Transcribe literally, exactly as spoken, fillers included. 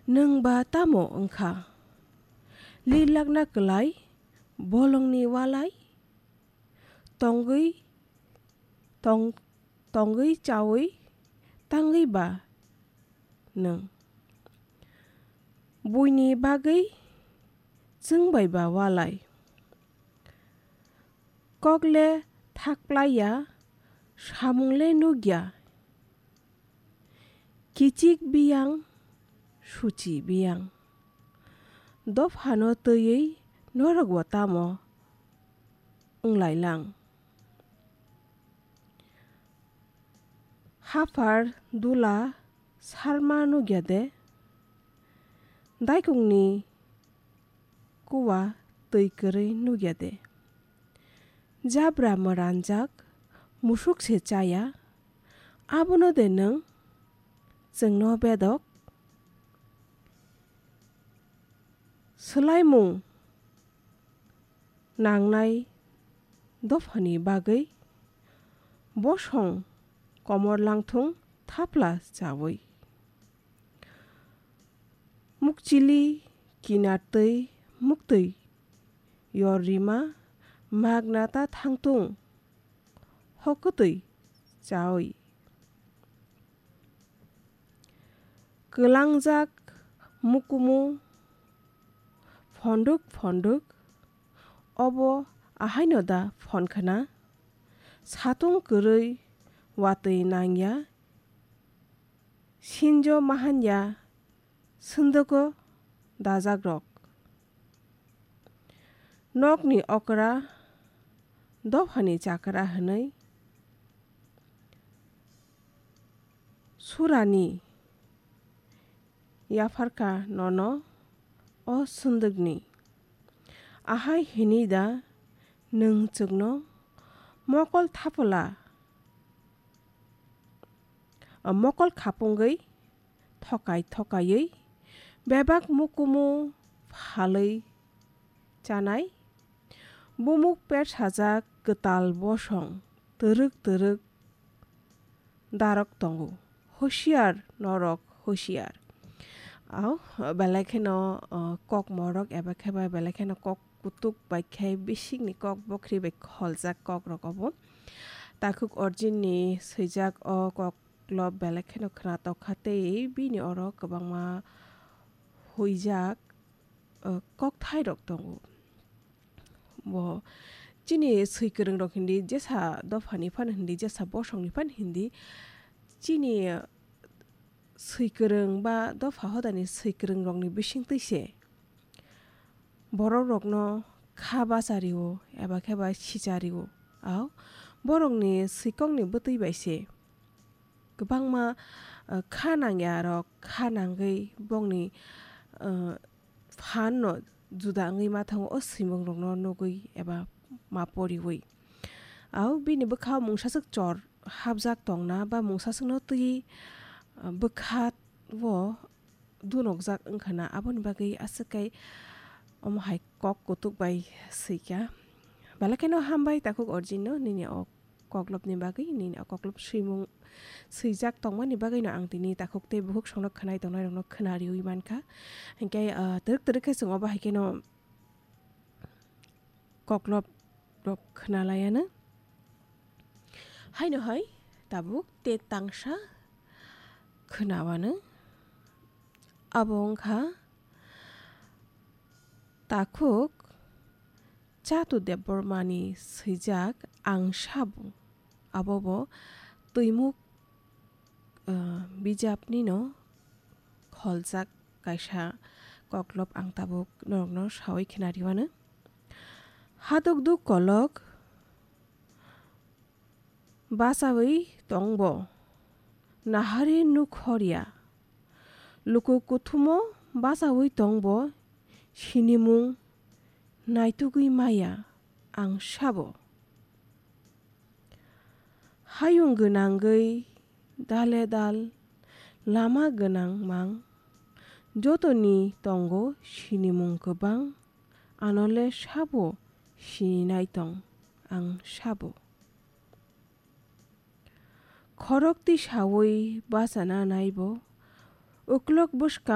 Nwng ba tamo wng kha? Lirlakna kwlai bolongni walai? Tongwi, tong-, tongwi chawi tangwi ba nwng? Buini bagwi chwng bai ba walai? Kok le thak plai ya, samung le nuk ya. Kichik biyang, suchi biyang. Dophano twiwi norok bo tamo wng lai lang? Haphar dula sarma nuk ya de? Daikungni kuwa twi kwrwi nuk ya de? Jabra mwranjak musuk se chaya, abono de nwng chwngno bedok? Swlaimung nangnai dophani bagwi bosong komor langthung thapla chawi. Mukchili kinartwi muktwi yor rima magna ta thangtung hokotwi chawi. Kwlangjak mukumu phonduk phonduk obo ahaino da phonkhna? Satung kwrwi watwi nangya, sinjo mahanya, swndwgo dajakrok. Nokni okra dophani chakra hwnwi surani yapharkha nono o swndwkni. Ahai hwnwi da nwng chwngno mokol thapwla, mokol khapungwi thokai thokaiwi bebak mukumu phalwi chanai, bumuk persajak kwtal bosong twrwk twrwk darok tongo. Husiar norok, husiar. Au, belai kheno, o, kok morok eba khe ba belai kheno kok kutuk bai khe bisikni kok bokri bai kholjak kok rok obo. Takhuk Arjun ni swijak o kok lop belai kheno khwnatok kha tei bini oro kwbangma huijak, o, kokthai rok tongo. Bo chini swi kwrwng rok hindi jesa dophani phan hindi, jesa bosongni phan hindi, chini swi kwrwng ba dopha hodani swi kwrwng rokni bisingtwi se borok rokno kha bachario eba khe ba sichario. Au, borokni swikokni bwtwi bai se kwbangma, uh, kha nangya rok kha nangwi bongni, uh, phan no juda wngwi ma thango o swimung rokno nugwi eba ma poriwi. Au, bini bwkha mungsaswk chor hapjak tongna ba mungsaswkno twiwi, uh, bwkha o dunokjak wngkha na, aboni bagwi aswk kai omo hai kok kutuk bai swikha. Belai kheno hambai takhuk Arjun no nini o koklopni bagwi, nini o koklop swimung swijak tongmani bagwino ang tini takhuk tei bukhuk songno khwnai tongnai rokno khwna riwi mankha. Hinkhe, ah, twrwk twrwk khe chwng obo hai kheno koklop rok khwnalaiano. Haino hai tabuk te tangsa khwnawano. Abo wngkha takhuk Chatu Debbarmani swijak Ang Sabo. Abobo twimuk, ah, bijapnino kholjak kaisa koklop ang tabuk norokno sawi khwnariwano. Hadukduk kolok bachawi tongbo, nahari nukhorya. Luku kuthumo bachawi tongbo, sinimung naitugwi maya Ang Sabo. Hayung gwnangwi dale dal lama gwnang mang, jotoni tongo sinimung kwbang, anole sabo sininai tong Ang Sabo. Khorok tisawi bachana naibo, uklok bwskang